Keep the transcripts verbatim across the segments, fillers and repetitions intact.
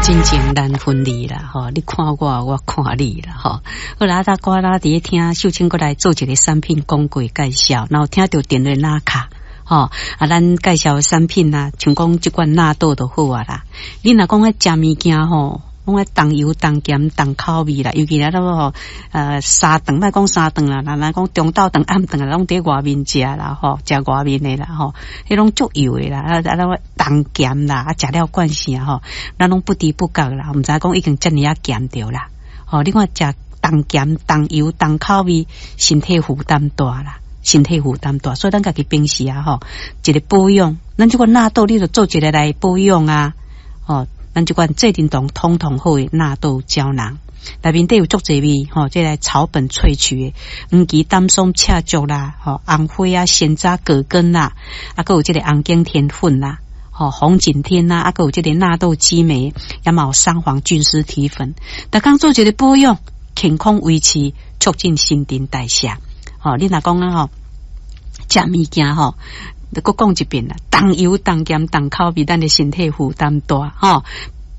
真情難分離啦，吼！你看我，我看你啦，吼！好啦，啊，我啦佇咧聽秀清閣來做一个產品廣告介紹，然後聽著電話拿卡，吼！啊，咱介紹的產品啊，像講這款納豆就好啊啦。你若講愛食物件吼，攏愛重油、重鹹、重口味啦，尤其咱吼，呃，三頓莫講三頓啦，若若講中晝頓、暗頓啊，攏佇外面食啦，吼，食外面的啦，吼，彼攏足油的啦，啊啊，攏重鹹啦，啊，食了慣勢啊，吼，咱攏不知不覺啦，毋知影講已經遮爾仔鹹著啦，吼，你看食重鹹、重油、重口味，身體負擔大啦，身體負擔大，所以咱家己平時啊，吼，一个保養，咱這款納豆，你就做一个來保養啊，吼。咱這款濟振堂通通好的納豆膠囊，內面底有足濟味吼，這个草本萃取的黃芪、丹參、赤石啦，吼紅花啊、山楂、葛根啦，啊，閣有這个紅景天粉啦，吼紅景天啦，啊，閣有這个納豆激酶，也嘛有桑黃菌絲體粉，逐工做一个保養，健康維持，促進新陳代謝。吼，你若講啊吼，食物件吼。閣講一遍啦，重油、重鹹、重口味，咱的身體負擔大吼。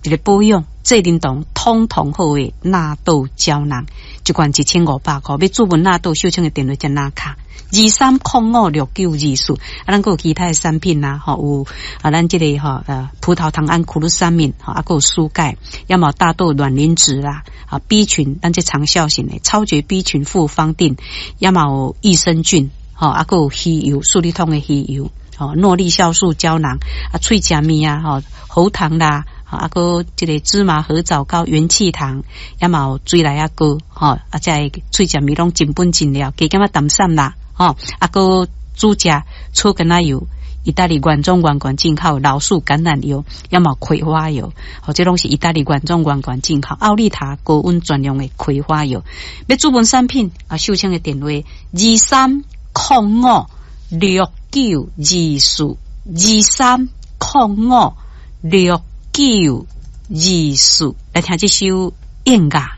一个保養，濟振堂通通好的納豆膠囊，一罐一千五百箍。欲注文納豆，秀清的電話才拿卡二三空五六九二四。啊，咱閣有其他的產品啊，吼有啊，咱這个吼呃葡萄糖胺苦魯三敏，吼啊，閣有舒鈣，抑嘛大豆卵磷脂啦，啊 B 群，咱這長效型的超絕 B 群複方錠，抑嘛有益生菌。吼，啊，閣有魚油，素力通的魚油，吼，諾麗酵素膠囊，啊，喙食物啊，吼，喉糖啦，啊，閣這个芝麻褐藻膏、元氣糖，抑嘛有水來仔膏，吼，啊，這个喙食物攏真本真料，加減仔淡散啦，吼，啊，閣煮食草根仔油，意大利原裝原罐進口老樹橄欖油，抑嘛葵花油，吼，這攏是意大利原裝原罐進口奧利塔高溫專用的葵花油。欲注文產品啊，秀清的電話二三空五六九二四二三空五六九二四，來聽這首音樂。